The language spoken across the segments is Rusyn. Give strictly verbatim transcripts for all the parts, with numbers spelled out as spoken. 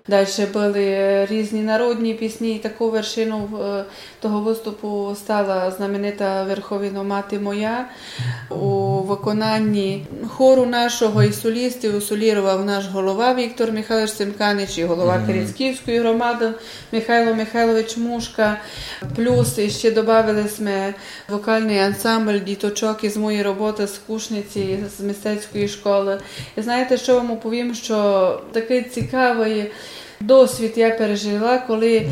Дальше были різні народні пісні, і такою вершиною, е, того выступу стала знаменита Верховино, мати моя. У выконанні хору нашого і солістів соліровав наш голова Віктор Михайлович Семканич і голова Керецьківської громады Михайло Михайлович Мушка. Плюс іщи добавили сьме вокалный ансамбль діточок із моєї роботы з Кушниці, з мистецької школы. І знаєте, што вам оповім, што такый цікавый досвід я пережила, коли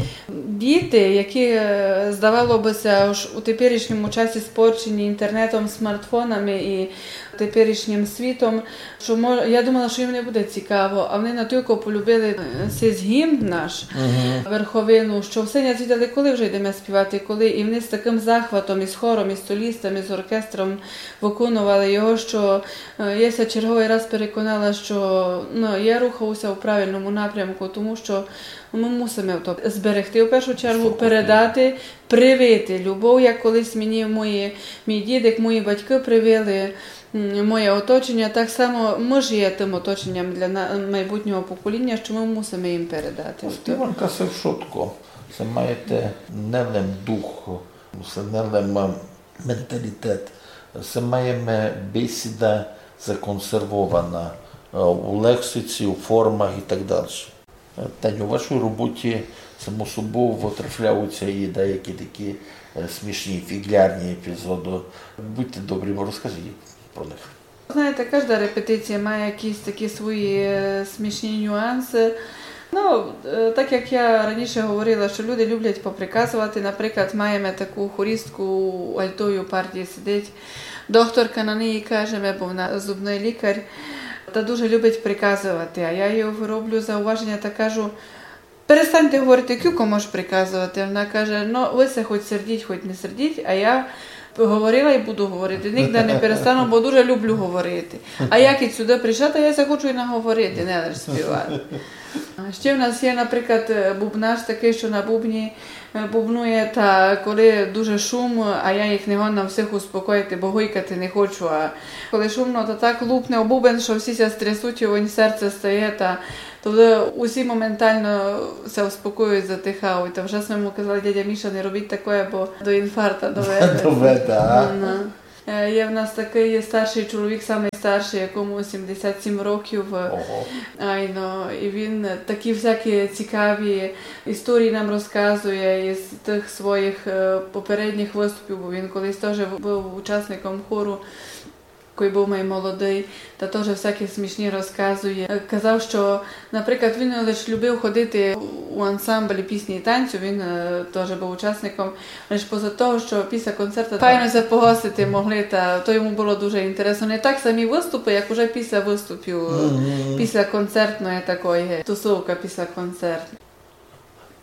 діти, які, е, здавало бы ся, ож у теперішньому часі спорчені інтернетом, смартфонами і теперішнім світом, што мо-, я думала, што їм не буде цікаво, а вони натілько полюбили, е, сись гімн наш, Верховину, што всьо ня звідали, коли вже йдеме співати, коли, і вони з такым захватом, із хором, із солістами, з оркестром выконували його, што, е, я ся черговый раз переконала, што, ну, я рухаю ся у правильному напрямку, тому што мы мусиме то зберегти в першу чергу, передати, привити любов, як колись мені мої, мій дідик, мої батькы привили, м, моє оточення, так само мы ж є тым оточенням для на-, майбутнього покоління, што мы мусиме їм передати. Співанка се вшытко. Се маєте не лем дух, се не лем, е, менталітет, се маєме бесіда законсервована, е, у лексиці, у формах і так дальше. Е, Таню, у вашій роботі само собою вытрафляють ся і деякі такі, е, смішні, фіґлярні епізоды. Будьте добрі, розкажіть про них. Знаєте, кажда репетиція має якісь такі свої, е, смішні нюансы. Ну, е, так як я раніше говорила, што люди люблять поприказовати, наприклад, маєме таку хористку, у альтої партії сидить докторка, на неї кажеме, бо вона зубный лікар, та дуже любить приказовати. А я їй роблю зауваженя та кажу: «Перестаньте говорити, кілько можеш приказовати». Вона каже: «Ну, вы ся хоть сердіть, хоть не сердіть, а я говорила і буду говорити. Нігде не перестану, бо дуже люблю говорити. А як і сюды прийшла, та я ся хочу і наговорити, не лиш співати». А ще в нас є, наприклад, е, бубнаш такый, што на бубні, е, бубнує, та коли дуже шум, а я їх не годна всіх успокоїти, бо гойкати не хочу, а коли шумно, то так лупне об бубен, што всі ся стрясуть, і в нього серце стає, та тоді усі моментально ся успокоюють, затихають. Та вже сьме йому казали: «Дядя Міша, не робіть такоє, бо до інфаркта доведе». Доведе, а? Ну, ну. Е, є в нас такый старшый чоловік, самый старшый, якому сімдесят сім років. Ого. Айно, і він такі всякі цікаві історії нам розказує із тых своїх, е, попередніх выступів, бо він колись тоже быв учасником хору, коли быв май молодый, та тоже всякі смішні розказує. Е, казав, што Наприклад, він лиш любив ходити у ансамблі пісні і танцю, він, е, тоже быв учасником. Лиш поза того, што після концерту файно ся погостити могли, та то йому было дуже інтересно. Не так самі выступы, як уже після выступів, після концертної такої тусовка, після концерту.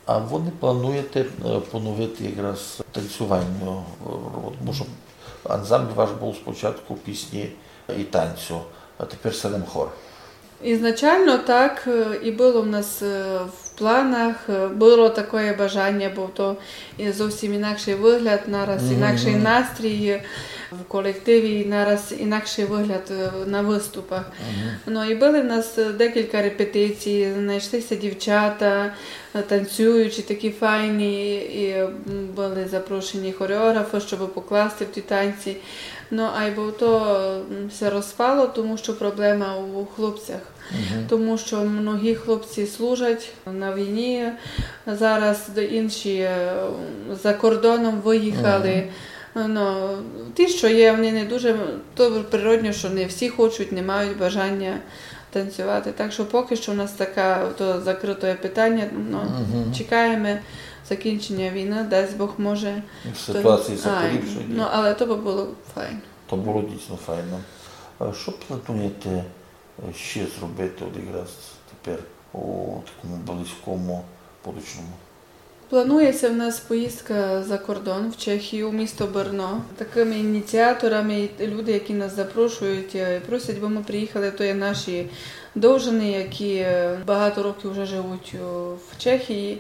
А вы не плануєте, е, поновити якраз танцювання? Е, тому што ансамбль ваш быв спочатку пісні і танцю, а тепер се лем хор. Ізначално так, е, і было в нас, е, в планах, е, было такоє бажаня, бо то є зовсім інакшый выгляд, нараз інакшый настрій, е, в колективі, і нараз інакшый выгляд, е, на выступах. Ну, і были в нас, е, декілька репетицій, знайшли ся дівчата, е, танцюючі, такі файні, і, м, были запрошені хореографы, щоб покласти в ті танці. Ну, айбо то, м, ся розпало, тому што проблема у хлопцях. Тому што многі хлопці служать на війні, зараз де-, інші, е, за кордоном выїхали. Ну, ті, што є, они не дуже, то природно, што не всі хочуть, не мають бажаня танцювати. Так што покы што у нас таке то закрытоє питаня, ну, чекаєме закінченя війны, дасть Бог, може. Ситуація ся поліпшить. Ну, але то бы было файно. То было дійсно файно. А што плануєте, е, ще зробити от якраз тепер у такому близькому будущому? Планує ся в нас поїздка за кордон, в Чехію, у місто Брно. Такыми ініціаторами і люди, які нас запрошують, е, просять, бы мы приїхали, то є наші довжани, які, е, багато років вже живуть у, в Чехії,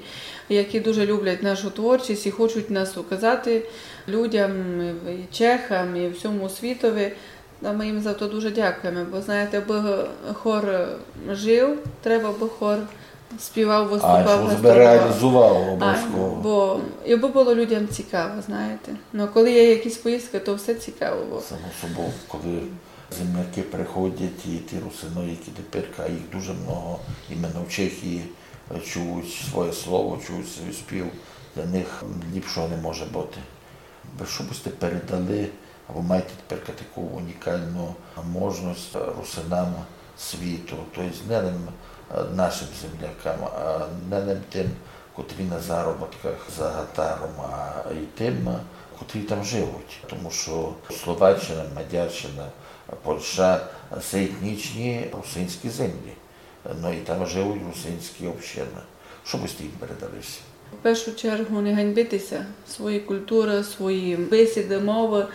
які дуже люблять нашу творчість і хочуть нас указати людям, і чехам, і всьому світови. А мы їм за то дуже дякуєме, бо, знаєте, абы хор жив, треба, абы хор Співав, выступав, гастролював. А, што себе реалізовав обовязково. Айно, бо, і бо было людям цікаво, знаєте. Но коли є якісь поїздкы, то все цікаво было. Само собою, коли землякы приходять, і ті русины, які теперь, а їх дуже много, іменно в Чехії, чують своє слово, чують свій спів, для них ліпшого не може быти. Вы што бы сьте передали, або маєте теперь таку унікалну можность русинам світу, то єсть не лем, е, нашым землякам, а не лем тым, котрі на заробітках за гатаром, а і тым, котрі там живуть. Тому што Словаччина, Мадярщина, Польща, се етнічні русинські землі. Но і там живуть русинські общины. Што бы сьте їм передали? В першу чергу не ганьбити ся своєї културы, своєї бесіды, мовы,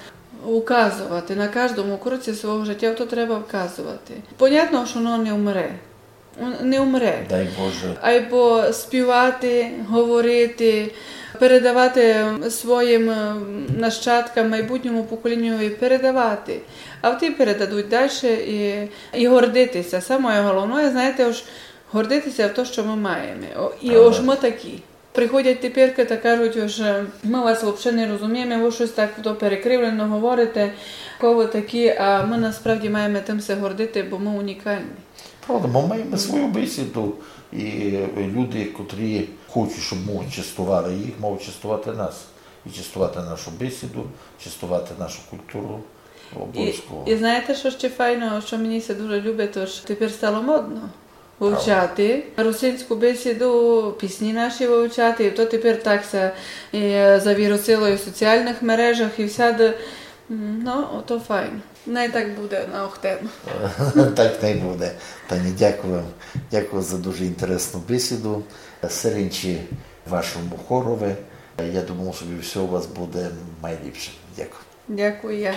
указовати на каждому кроці свого житя, то треба вказовати. Понятно, што воно не умре. М, не умре. Дай Боже. Айбо співати, говорити, передавати своїм, е, нащадкам, майбутньому поколінню і передавати. А ті передадуть дальше і, і гордити ся. Самоє головноє, знаєте, ож гордити ся в то, што мы маєме. О, і ож мы такі. Приходять теперь та кажуть, ож, е, мы вас вообще не розумієме, вы штось так то перекривлено говорите, ко вы такі, а мы насправді маєме тым ся гордити, бо мы унікалні. Правда, мы маєме свою бесіду, і люди, котрі хочуть, щоб мы честовали їх, мають честовати нас. І честовати нашу бесіду, честовати нашу културу. І, обовязково. І знаєте, што ще файно, што мені ся дуже любить, то ж теперь стало модно вивчати русинську бесіду, пісні наші вивчати, і то теперь так ся, е, завірусило і в соціалных мережах, і всяды. М, но, ото файно. Най так буде на Охтен. Так най буде. Таня, дякую вам. Дякую за дуже інтересну бесіду. Серенчі вашому хорови. Я думаю, собі всьо у вас буде майліпше. Дякую. Дякую я.